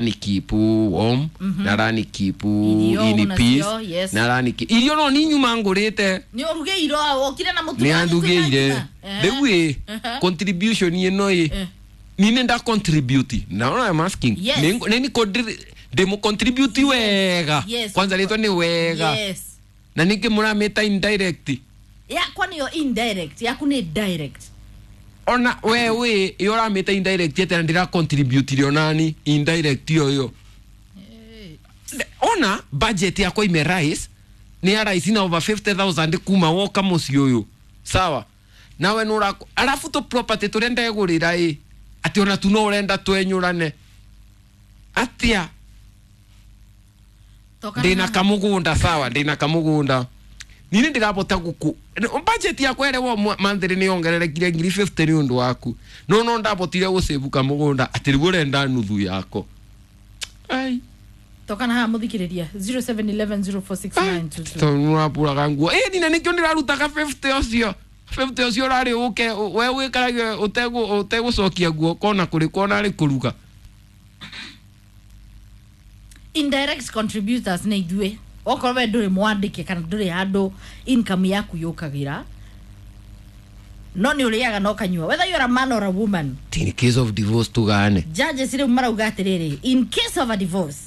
Ni keep warm, na arani keep Irio in nacio, peace, yes. na arani keep irio no ni nyuma ngurite. Nĩ ũrugĩirwo, wokire na mũtu Nĩ wa andugĩire. gĩkuũ. Rĩu ĩ contribution ĩno ĩ nini nda contribute? Now I'm asking. Yes. Nĩ ndĩmũ contribute wega? Yes. Kwanza rĩtwa nĩ wega. Yes. Na ningĩ mũramĩta indirect. Yakwa nĩyo indirect, yaku nĩ direct. Ona we wĩ ĩ ũramĩta indirect atĩa na ndĩra contribute onani indirect ĩyo ona budget yakwa ime rise nĩ ya rise na over 50,000 kuma woka mũciĩ ũyũ, sawa nawe nũra arabu tũ property tũrĩa ndegũrĩra ĩ atĩ ona tu no ũrenda twenyũrane atĩa? Toka Ndĩna kamũgũnda, sawa, ndĩna kamũgũnda nini ndĩrabota gũkũ budget yakwa ĩrĩa wo monthly nĩ yongererekire ngiri 50 nĩ ũndũ waku, no ndabotire gũsave kamũgũnda atĩ rĩu ũrenda nuthu yako, ai. Toka na haha mũthikĩrĩria, 0711046922. Tondũ nĩũrabũraga nguo ĩ nina nĩkĩo ndĩrarutaga 50 ũcio, 50 ũcio ũrarĩ ũke we wĩkarage ũtegũcokia guoko ona kũrĩ kona rĩ kũruga. Indirect contributors nĩ ithuĩ, okorwo we ndũrĩ mwandĩke kana ndũrĩ handũ income yaku yũkagĩra, no nĩ ũrĩaga na ũkanyua, whether you're a man or a woman. In case of divorce tugane. Judges rĩu marauga atĩrĩrĩ, in case of a divorce,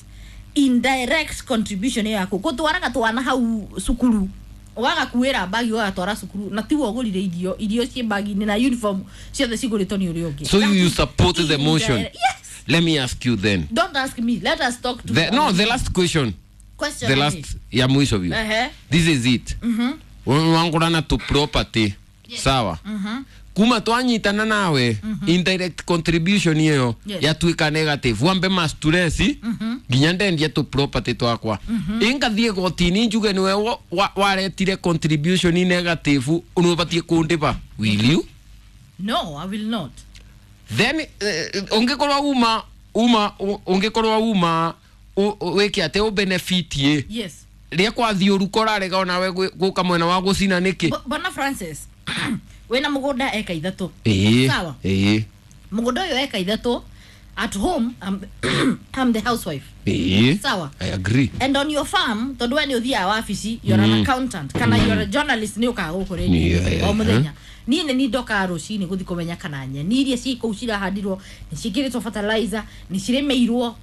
indirect contribution ĩyo yaku gũtwaraga twana hau cukuru, ũgagakuĩra bagi ũgagatwara cukuru na tiwe ũgũrire irio, irio ciĩ bagi-inĩ na uniform ciothe cigũrĩtwo nĩ ũrĩa ũngĩ. So That you is support the motion? Yes. Let me ask you then. Don't ask me, let us talk to The, no, the last question. Question. The last ya mwisho vyo. This is it. Wangurana to property, sawa, kuma twanyitana nawe indirect contribution iyo yatuika negative, wambe mastress nginya ndendia tu property twakwa, ingathie gotini njuge niwe waretire contribution negative, unubatie kundiba, will you? No, I will not. Then ungikorwo uma ungikorwo uma wike ate ubenefitie ria kwathiĩ ũru korarega onawe gũka mwena wa gũcina nĩkĩ? Bwana Francis, wĩna mũgũnda eka 3. Ĩĩ. Sawa. Ĩĩ. Mũgũnda ũyũ eka 3, at home I'm the housewife. Ĩĩ. Sawa. I agree. And on your farm, tondũ we nĩ ũthiaga wabici, you're an accountant kana you're a journalist, nĩ ũkaga gũkũ rĩndio o mũthenya, niĩ nĩ nindokaga rũcinĩ gũthiĩ kũmenya kana nyeni iria ciĩ kũu cirahandirwo nĩ ciĩkĩrĩtwo fertilizer, nĩ cirĩmĩirwo,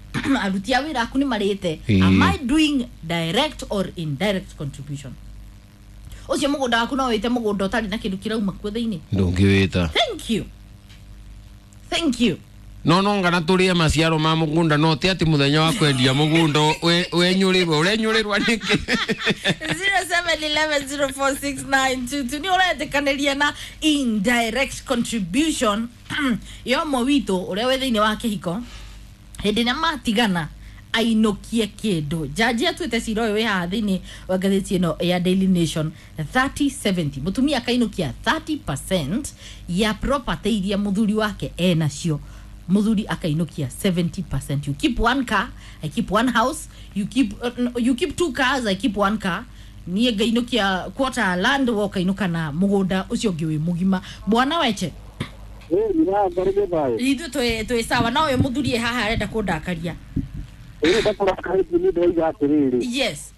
aruti a wĩra aku nĩ marĩte. Am I doing direct or indirect contribution? Ũcio mũgũnda waku no wĩte mũgũnda ũtarĩ na kĩndũ kĩrauma kuo thĩinĩ? Ndũngĩwĩta. Thank you, thank you. No ngana tũrĩe maciaro ma mũgũnda, no ti atĩ mũthenya wa kwendia mũgũnda wenyũrĩrwo ũrenyũrĩrwa nĩkĩ? 0711046922, nĩ ũretĩkanĩria na indirect contribution ya ũmwe witũ ũrĩa wĩ thĩinĩ wa kĩhiko hĩndĩ ĩrĩa matigana ainũkie kĩndũ? Jaji atuĩte cira ũyũ wĩ haha thĩinĩ wa ngathĩti ĩno ya Daily Nation, 30-70, mũtumia akainũkia 30% ya property iria mũthuri wake enacio, mũthuri akainũkia 70%. You keep one car, I keep one house. You keep two cars, I keep one car. Niĩ ngainũkia quarter land, we ũkainũka na mũgũnda ũcio ũngĩ wĩ mũgima. Bwana Weche. Ithuĩ twĩ sawa, no ũyũ mũthuri e haha arenda kũndakaria. Ndakũrakarĩtie nĩ ndĩrauga atĩrĩrĩ. Yes.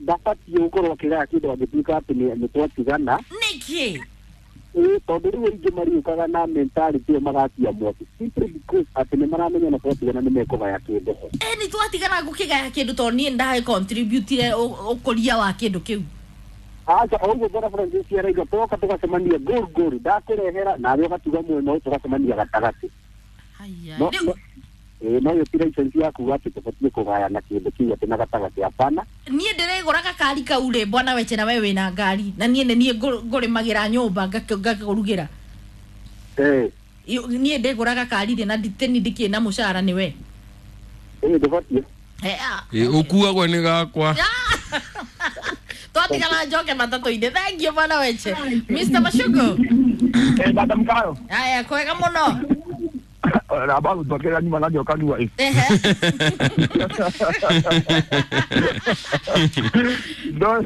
Ndabatiĩ gũkorwo akĩgaya kĩndũ angĩtuĩka atĩ nĩ twatigana. Nĩkĩ? Ĩĩ, tondũ rĩu aingĩ mariũkaga na mentality ĩyo magatia mwaki simply because atĩ nĩ maramenya na twatigana nĩ mekũgaya kĩndũ ho. Ĩ nĩ twatigana ngũkĩgaya kĩndũ tondũ niĩ ndacontributire ũkũria wa kĩndũ kĩu. Aca, o ũguo bwana Francis arauga, twoka tũgacemania ngũru ngũru, ndakũrehera nawe ũgatiga mwena ũyũ, tũgacemania gatagatĩ. Haya. No Rĩu ĩĩ, no ĩyo ti license ya kuga atĩ tũbatiĩ kũgayana kĩndũ kĩu atĩ na gatagatĩ, hapana. Niĩ ndĩrĩgũraga kari kau rĩ, bwana Weche, na we wĩna ngari na niĩ nĩ niĩ ngũrĩmagĩra nyũmba ngakũrugĩra. Niĩ ndĩgũraga kari rĩ na nditĩni ndikĩrĩ na mũcara nĩ we. Ĩĩ, ndũbatiĩ. Ĩ, ũkuagwo nĩ gakwa. Twatigana njoke matatũ-inĩ. Thank you, bwana Weche. Mr Mashugo. Madam Kayo. Haya, kwega mũno. Raba gũtwakĩra nyuma na njoka ndua ĩ. No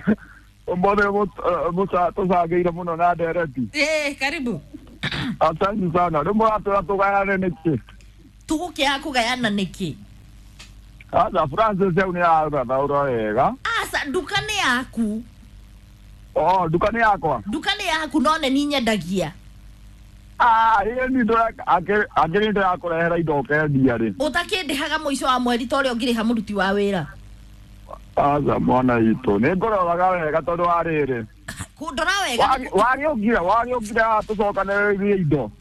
ũmũthĩ tũcangĩire mũno na ndereti. Eh, karibu. Asante sana. Rĩu mũratwĩra tũgayane nĩkĩ? Tũgũkĩaga kũgayana nĩkĩ? Aca Francis au nĩ arathaũra wega. Aca nduka nĩ yaku. Oh, nduka nĩ yakwa. Nduka nĩ yaku no nĩ niĩ nyendagia. Ah, ĩĩ ni ndũra akĩrĩ ndĩrakũrehera indo ũkendia rĩ. Ũtakĩndĩhaga mũico wa mweri ta ũrĩa ũngĩrĩha mũruti wa wĩra. Aca mwana witũ nĩ ngũroraga wega tondũ wa rĩrĩ. Kũndora wega. Wagĩũkire tũcokanĩrĩrie indo.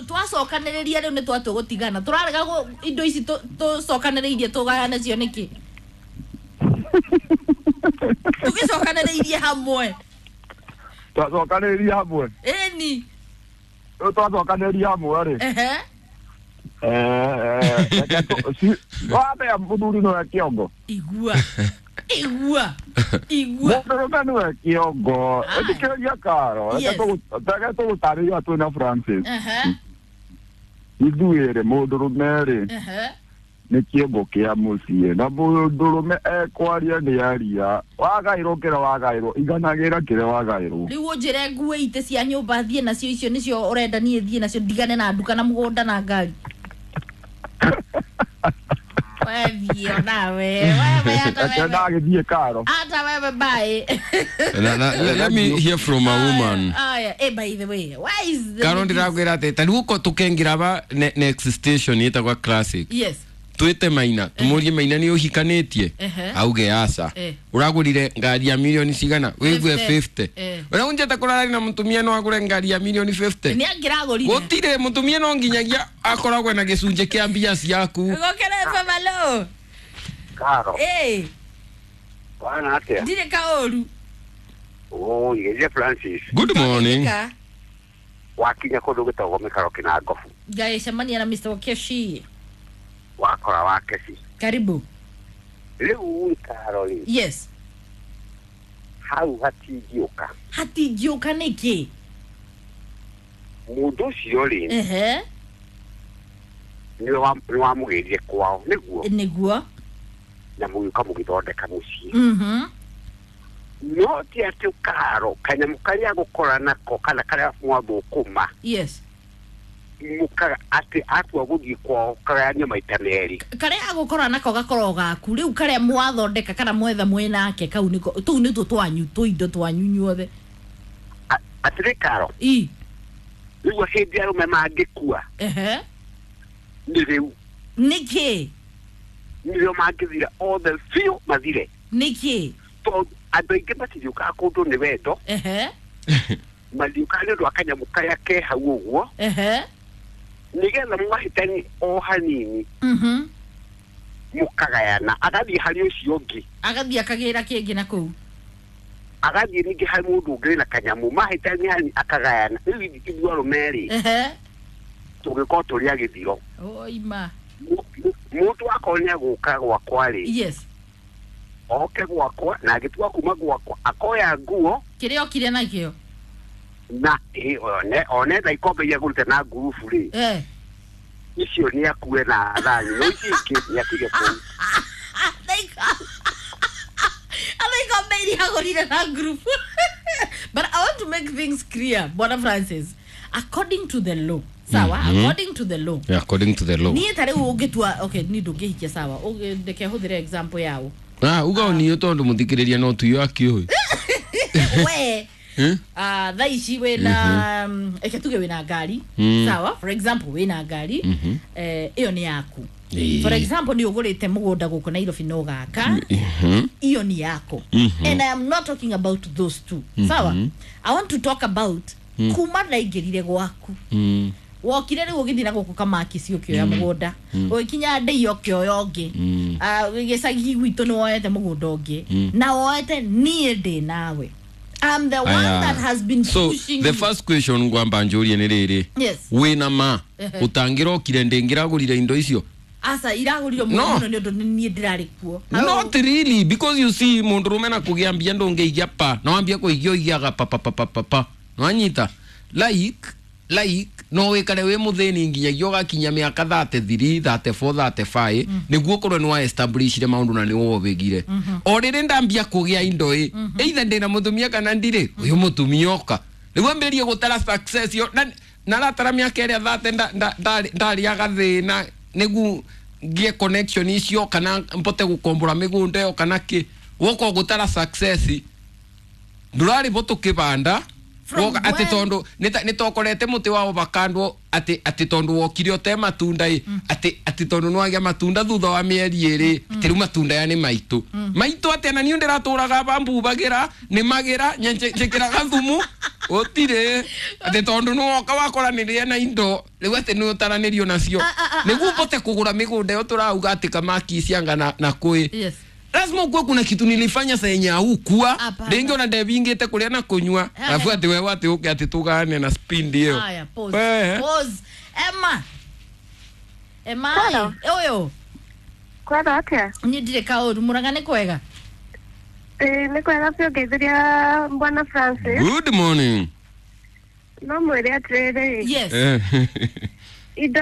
Twacokanĩrĩria rĩu nĩ twatũgũtigana. Tũrarega indo ici tũcokanĩrĩirie tũgayane cio nĩkĩ? Tũgĩcokanĩrĩirie hamwe. Twacokanĩrĩria hamwe. Ĩni. Rĩu twacokanĩrĩria hamwe rĩ. Ehe. Wambe mũthuri nĩwe kĩongo. Igua. Igua. Igua. Mũndũrũme nĩwe kĩongo. Ĩtĩkĩrĩria Karo. Yes. Reke tũgũtarĩria twĩna Francis. Ehe. Ithuĩ rĩ mũndũrũme rĩ Ehe. nĩ kĩongo kĩa mũciĩ na mũndũrũme ekwaria nĩ aria wagaĩrwo kĩrĩa wagaĩrwo iganagĩra kĩrĩa wagaĩrwo. Rĩu ũnjĩre ngue itĩ cia nyũmba thiĩ nacio icio nĩcio ũrenda niĩ thiĩ nacio ndigane na nduka na mũgũnda na ngari. Wewe nawe wewe hata Reke wewe ndagĩthiĩ Karo. hata wewe bye. Let me hear from a woman. Aya, by the way, why is the Karo ndirakwira ati ta riu ko tukengira ba next station yetagwa Classic. Yes. Twite Maina tumurie Maina ni uhikanitie auge aca uragurire ngari ya milioni cigana wigue 50 uria unjete kurarari na mutumia no agure ngari ya milioni 50 ni angiragurire gutire mutumia no nginyagia akoragwe na gicunjĩ kĩa mbia ciaku. Gokere famalo. Karo. Bwana atia. Ndire kaoru. Oh, ye Francis. Good morning. Wakinya kundu gitagwo mikaro kina ngobu. Ngacemania na Mr. Wakeshi. Wakora Wakeshi. Karibu. Rĩu Karo rĩ. Yes. Hau hatingĩũka. Hatingĩũka nĩkĩ? Mũndũ ũcio rĩ. Ehe. Nĩ wamũgĩrire kwao nĩguo. Nĩguo. Na mũgĩũka mũgĩthondeka mũciĩ. Mhm. No ti atĩ Karo kanyamũ karĩa gũkora nako kana karĩa mwathũkũma. Yes. Mukaga atĩ atua gũthiĩ kwao kagayania maita merĩ. Karĩa agũkora nako gakorwo gaku rĩu karĩa mwathondeka kana mwetha mwĩnake kau nĩko tũu nĩtwo twanyu tũindo twanyu inyuothe. Atĩrĩ Karo. I. Rĩu hĩndĩ arũme mangĩkua. Ehe. Nĩ rĩu. Nĩkĩ? Nĩrĩo mangĩthira othe biũ mathire. Nĩkĩ? Tondũ andũ aingĩ matithiũkaga kũndũ nĩ wendo. Ehe. Mathiũkaga nĩ ũndũ wa kanyamũ karĩa ke hau ũguo. Ehe. Nĩgetha mwahĩtani o hanini. Mhm. Mũkagayana agathiĩ harĩ ũcio ũngĩ. Agathiĩ akagĩra kĩngĩ na kũu. Agathiĩ ningĩ harĩ mũndũ ũngĩ wĩna kanyamũ mahĩtani hanini akagayana. Rĩu ithuĩ arũme rĩ. Ehe. Tũngĩkorwo tũrĩ a gĩthiro. Oima. Mũndũ akorwo nĩ agũka gwakwa rĩ. Yes. Oke gwakwa na agĩtua kuma gwakwa akoya nguo. Kĩrĩa okire nakĩo. Na one tha ikombe iria agũrĩte na ngurubu rĩ. Icio nĩ akue na thani no ici ingĩ nĩ atige kũu. Atha ikombe iria agũrire na ngurubu. But I want to make things clear, Bwana Francis. According to the law. Sawa, according to the law. Yeah, according to the law. Niĩ ta rĩu ũngĩtua, okay, niĩ ndũngĩhikia sawa. Ndeke hũthĩre example yao. Ah, uga niĩ tondũ mũthikĩrĩria no tuyo akĩũĩ. We. Thaa ici wĩna eke tuge wĩna ngari. Sawa, for example wĩna ngari. Ĩyo nĩ yaku. For example nĩ ũgũrĩte mũgũnda gũkũ Nairobi no gaka. Iyo ni yako. And I am not talking about those two. Sawa? I want to talk about kuma ndaingĩrire gwaku. Wokire rĩu ũgĩthiĩ na gũkũ Kamaki ci ũkĩoya mũgũnda. Ũgĩkinya Ndei ũkĩoya ũngĩ. Gĩcagi gwitũ nĩ woete mũgũnda ũngĩ. Na woete niĩ ndĩ nawe. I'm the one that has been pushing. So the first question ngwamba njũrie nĩ rĩrĩ. Yes. Wĩna ma ũtangĩrokire ndĩngĩragũrire indo icio. Asa iragũrire mũno nĩ ũndũ niĩ ndĩrarĩ kuo. Not really, because you see mũndũrũme na kũgĩa mbia ndũngĩigia pa. No wambia kũigia ũigiaga pa pa pa pa pa pa. Nwanyita like no wikare wi muthini nginyagia ugakinya miaka 33 34 35 niguo korwo ni wa establishire maundu na ni wobigire o riri ndambia kugia indo i either ndina mutumia kana ndire uyu mutumia oka riu ambirie gutara success yo na naratara miaka iria 30 ndariaga thina nigu ngie connection icio kana mpote gukombora migunda yo kana ki woko gutara success ndurari bo tukibanda woka ati tondu nitokorete muti wa avocado ati tondu wokire ote matunda i ati tondu nwagia matunda thutha wa mieri iri ati riu matunda ya ni maitu maitu ati na niu ndiraturaga bambubagira ni magira njikiraga thumu utire ati tondu nwoka wakoranirie na indo riu ati ni utaranirio nacio niguo mbote kugura migunda yo turauga ati kamaki cianga na kui. Yes. Lazima ukuwe kuna kitu nilifanya saa yenye haukuwa. Ringi ona ndebingite kuria na kunywa. Alafu ati wewe ati uke ati tugane na spindi hiyo. Haya, pause. Pause. Emma. Emma. Oyo. Kwega atia? Ni ndire kauru murangane kwega. Ni kwega pio ngeithiria Bwana Francis. Good morning. No mwire atiriri. Yes. Indo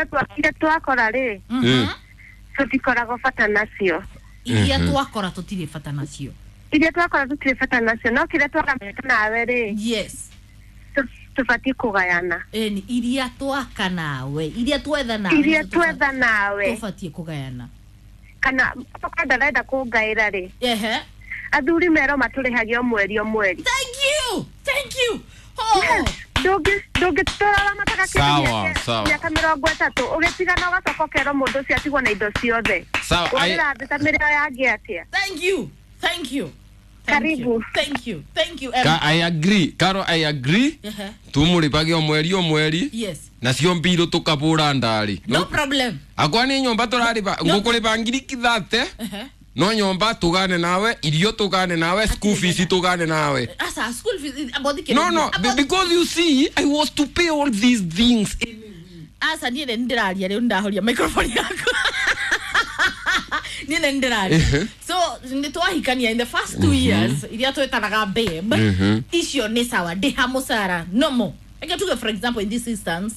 twakora ri. Tutikoragwo bata nacio. Iria twakora tutire bata nacio. Iria twakora tutire bata nacio no kiria twakamenya nawe ri. Yes. Tubati kugayana. Eni iria twaka nawe, iria twetha nawe. Iria twetha nawe. Tubati kugayana. Kana tukanda renda kungaira ri. Ehe. Athuri mero maturihagia mweri o mweri. Thank you. Thank you. Oh. Ndũngĩtũrora mataka kĩndũ mĩaka mĩrongo ĩtatũ ũgĩtigana ũgacoka ũkerwo mũndũ ũcio atigwo na indo ciothe. Sawa, ũrĩra ta mĩrĩo yangĩ atĩa? Thank you. Thank you. Karibu. Thank you. Thank you. I agree. Karo, I agree. Tumũrĩbage o mweri o mweri. Yes. Nacio mbirũ tũkabũra ndari. No problem. Akwa nĩ nyũmba tũrarĩba ngũkũrĩba ngiri kithate. No nyomba tugane nawe, irio tugane nawe, school fees tugane nawe. Asa school fees about the No, because you see, I was to pay all these things. Asa niĩ nĩ ndĩraria rĩu ndahoria microphone yaku. Niĩ nĩ ndĩraria. So nĩ twahikania in the first 2 years iria twetanaga babe. Icio nĩ sawa ndĩha mũcara no mo. Eke tuge for example in this instance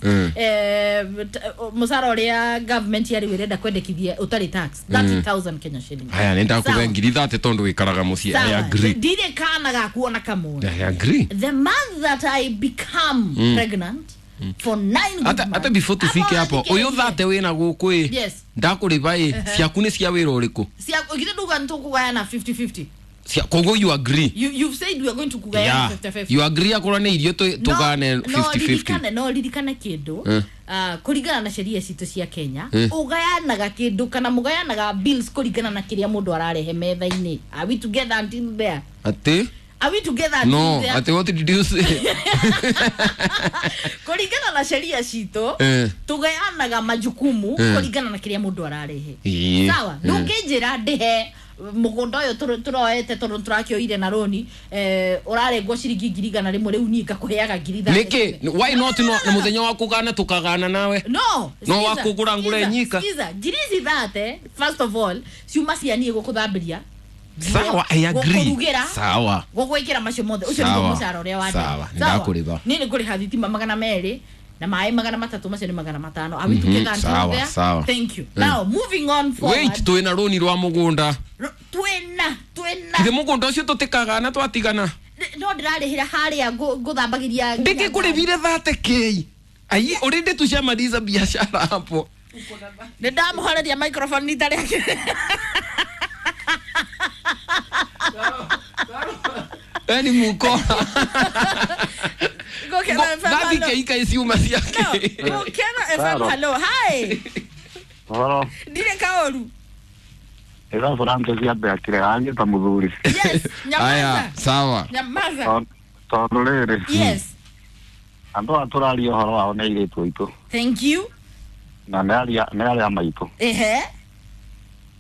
musara uria government yari wirenda kwendekithia utari tax 30,000 Kenya shillings. Haya nenda kuve ngiri 30 tondu wikaraga mucii. I agree. Ndire kana gakuona kamwe. I agree. The month that I become pregnant for 9 good months. Ata before tufike hapo uyu 30 wina guku i. Yes. Ndakuriba i ciaku ni cia wira uriku? Cia githe nduga ntukugayana 50-50. Kogo you agree. You've said we are going to kugayana 50-50. You agree akorwo ni irio tugane 50-50. No ririkane kindu kuringana na sheria citu cia Kenya ugayanaga kindu kana mugayanaga bills kuringana na kiria mundu ararehe metha-ini. Are we together until there? Ati? Are we together until there? No, ati what did you say? Kuringana na sheria citu tugayanaga majukumu kuringana na kiria mundu ararehe. Sawa, ndunginjira ndihe mugunda uyu turoete tondu turakioire na roni urarengwo ciringi ngiri igana rimwe riu nie ngakuheaga ngiri ithano. Niki why not no na muthenya wa kugana tukagana nawe? No no wa kugura ngure nyika. Sikiza ngiri ici thate first of all ciuma cia nie gukuthambiria. Sawa, I agree. Sawa. Gugwikira macio mothe ucio niguo mucara uria wa. Sawa, ndakuriba. Ni nikuriha thitima 200 na maĩ 300 macio ni 500. Are we together until there? Sawa. Thank you. Now moving on forward. Wait, twina roni rwa mugunda. Twina. Ithe mugunda ucio tutikagana twatigana. No ndirarihira haria nguthambagiria. Ndikikuribire 30k. Ai already tushamaliza biashara hapo. Ni ndamuhoreria microphone nita rĩake. Eni mukora. Gukena FM. Gathi keika isiuma ciake. Gukena FM hello. Hi. Hello. Ndire kaoru. Ira Francis yambe akire ta muthuri. Yes, nyamaza. Aya, sawa. Nyamaza. Tondu riri. Yes. Andu aturaria uhoro wao nĩ airĩtu aitũ. Thank you. Na nĩ aria maitũ. Ehe.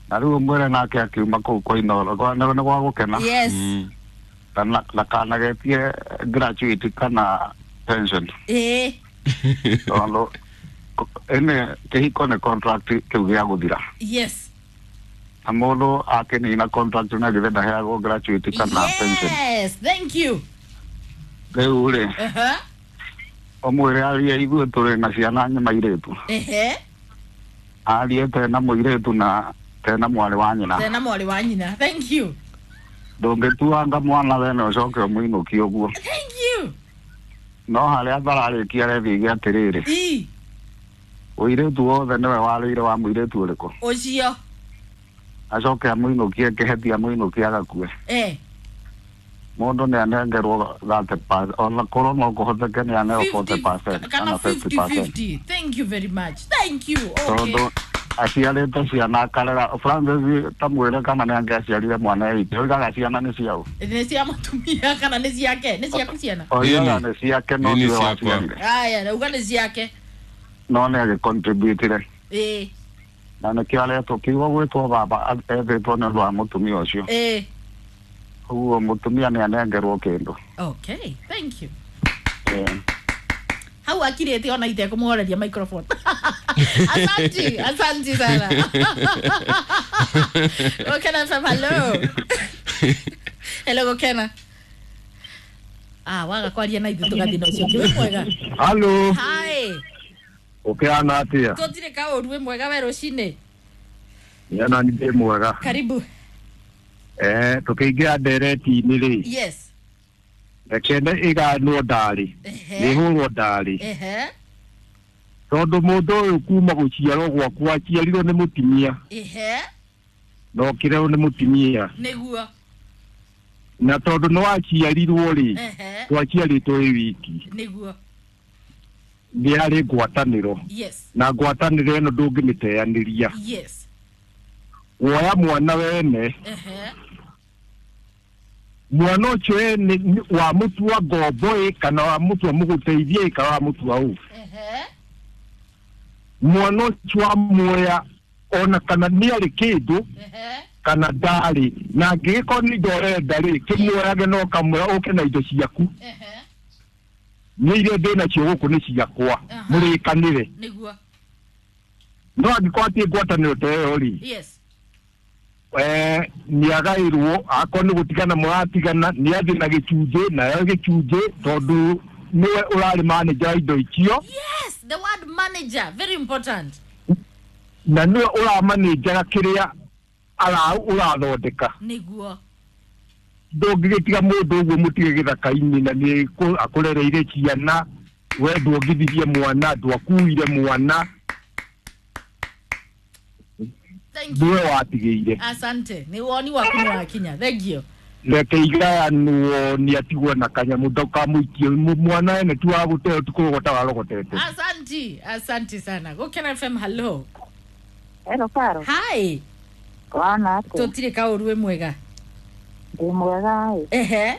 Na rĩu mwĩre nake akiuma kũu kwa Inooro nĩ gwa gũkena. Yes. Na kanagetie graduate kana pension. Eh. Tondu ene kĩhiko nĩ contract kĩu gĩa gũthira. Yes. Na mũndũ akĩnina contract na githĩ ndaheagwo graduate kana pension. Yes, thank you. Rĩu rĩ. Ũmwĩre arie ithuĩ tũrĩ na ciana nyama irĩtu. Ehe. Arie tena mũirĩtu na tena mwarĩ wa nyina. Tena mwarĩ wa nyina. Thank you. Ndũngĩtuanga mwana wene ũcoke ũmũinũkie ũguo. Thank you. No harĩa thararĩkia rethiige atĩrĩrĩ. Ii. Ũirĩtu wothe nĩwe warĩire wa mũirĩtu ũrĩkũ? Ũcio. Acoke amũinũkie kĩheti amũinũkie agakue. Mũndũ nĩ anengerwo 30%, ona korwo no kũhoteke nĩ aneo 40% kana 50-50. Thank you very much. Thank you. Okay. Tondũ aciarĩte ciana akarera Francis ta mwĩre kana nĩ angĩaciarire mwana witũ oigaga ciana nĩ ciao. Nĩ cia mũtumia kana nĩ ciake? Nĩ ciaku ciana? Oigaga nĩ ciake no tiwe waciarire. Aya, rauga nĩ ciake. No nĩ agĩcontributire. Na nĩkĩo aretwo kiugo gwĩtwo baba ethĩtwo nĩ ũndũ wa mũtumia ũcio. Ũguo mũtumia nĩ anengerwo kĩndũ. Okay, thank you. Hau akirĩte ona itekũmũhoreria microphone. Asante, asante sana. Gokena FM, hello. Hello Gokena. Ah, waga kwaria na ithuĩ tũgathiĩ na ũcio ũngĩ. Wĩ mwega? Hello. Hi. Ũkĩhana atĩa? Tũtirĩ kaũru, wĩ mwega we rũcinĩ? Nĩ ndĩ mwega. Karibu. Tũkĩingĩra ndereti-inĩ rĩ. Yes. Reke ĩganwo ndarĩ. Nĩhũrwo ndarĩ. Tondũ mũndũ ũyũ kuma gũciarwo gwaku aciarirwo nĩ mũtumia. Na ũkĩrerwo nĩ mũtumia. Nĩguo. Na tondũ nĩ waciarirwo rĩ, twaciarĩtwo wĩ wiki. Nĩguo. Nĩ harĩ ngwatanĩro. Yes. Na ngwatanĩro ĩno ndũngĩmĩteanĩria. Yes. Woya mwana wene. Mwana ũcio ene wa mũtua ngombo ĩ kana wa mũtua mũgũteithia ĩ kana wa mũtua ũ. Mwana ũcio wa muoya ona kana nĩ arĩ kĩndũ kana ndarĩ, na angĩgĩkorwo nĩ indo ũrenda rĩ, kĩmuoyage na ũkamwĩra ũke na indo ciaku. Nĩ iria ndĩ nacio gũkũ nĩ ciakwa, mũrĩkanĩre. Nĩguo. No angĩkorwo hatirĩ ngwatanĩro ta ĩyo rĩ, Yes. nĩ agaĩrwo, akorwo nĩ gũtigana mũratigana, nĩ athiĩ na gĩcunjĩ, nayo gĩcunjĩ, tondũ nĩwe ũrarĩ manager wa indo icio. Yes, the word manager, very important. Na nĩwe ũramanĩnjaga kĩrĩa ũrathondeka. Nĩguo. Ndũngĩgĩtiga mũndũ ũguo mũtige gĩthaka-inĩ na nĩ akũrereire ciana, we ndwongithirie mwana, ndwakuire mwana. Thank you. Nĩwe watigĩire. Asante. Nĩ woni waku nĩ wakinya. Thank you. Reke igayanwo nĩ atigwo na kanyamũ ndũkamũikie mwana ene ti wa gũteo ti kũrogota warogotete. Asante, asante sana. Gokena FM, hello. Hello Karo. Hi. Wana atĩa? Tũtirĩ kaũru, wĩ mwega? Ndĩ mwega ĩ.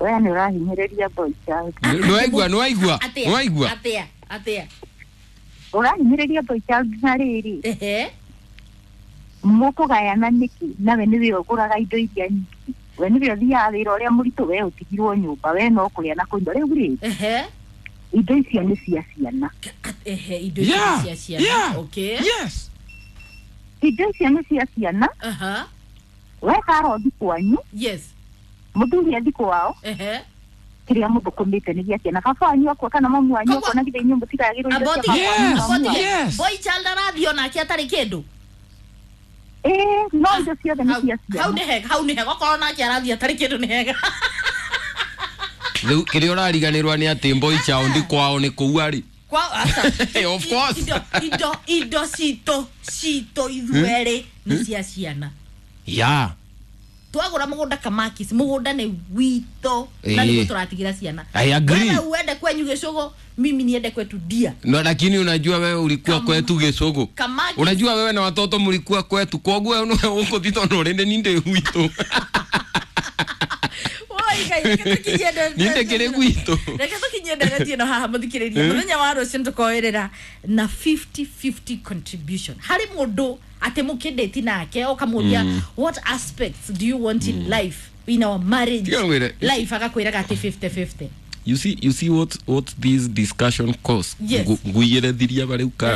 We nĩ ũrahinyĩrĩria boy child. Nĩwaigua, nĩwaigua, nĩwaigua. Atĩa, atĩa. Ũrahinyĩrĩria boy child na rĩrĩ. Mũkũgayana nĩkĩ? Nawe nĩwe ũgũraga indo iria nyingĩ. We nĩwe ũthiaga wĩra ũrĩa mũritũ, we ũtigirwo nyũmba, we no kũrĩa na kũnyua. Rĩu rĩ, indo icio nĩ cia ciana. Indo icio nĩ cia ciana. Okay. Yes. Indo icio nĩ cia ciana. We Karo thi kwanyu. Yes. Mũthuri athi kwao. Kĩrĩa mũthũkũmĩte nĩ gĩa ciana. Baba wanyu akua kana mamu wanyu akua na githĩ inyuĩ mũtigagĩrwo indo cia baba wanyu na mamu wanyu. Boy child arathiĩ onake atarĩ kĩndũ. No indo ciothe nĩ cia ciana. Hau nĩ hega, hau nĩ hega. Okorwo nake arathiĩ atarĩ kĩndũ nĩ hega. Rĩu kĩrĩa ũrariganĩrwo nĩ atĩ boy child kwao nĩ kũu arĩ. Kwao aca. Of course. Indo citũ ithuerĩ nĩ cia ciana. Yeah. Twagũra mũgũnda Kamakis, mũgũnda nĩ witũ na nĩguo tũratigĩra ciana. I agree. Wewe uende kwenyu Gĩcũgũ, mimi niende kwetu Dia. No, lakini unajua wewe ulikuwa kwetu Gĩcũgũ. Kamakis. Unajua wewe na watoto mlikuwa kwetu, koguo wewe ũkũthi tondũ ũrĩ nĩ gwitũ. Ninde kĩrĩ gwitũ. Reke tũkinyie ndereti ĩno haha mũthikĩrĩria. Mũthenya wa rũciũ tũkoerera na 50-50 contribution. Harĩ mũndũ atĩ mũkĩndĩti nake ũkamũria what aspects do you want in life, in our marriage life, agakwĩraga atĩ 50-50. You see what this discussion costs. Yes. Nguiyerethiria barĩu Karo.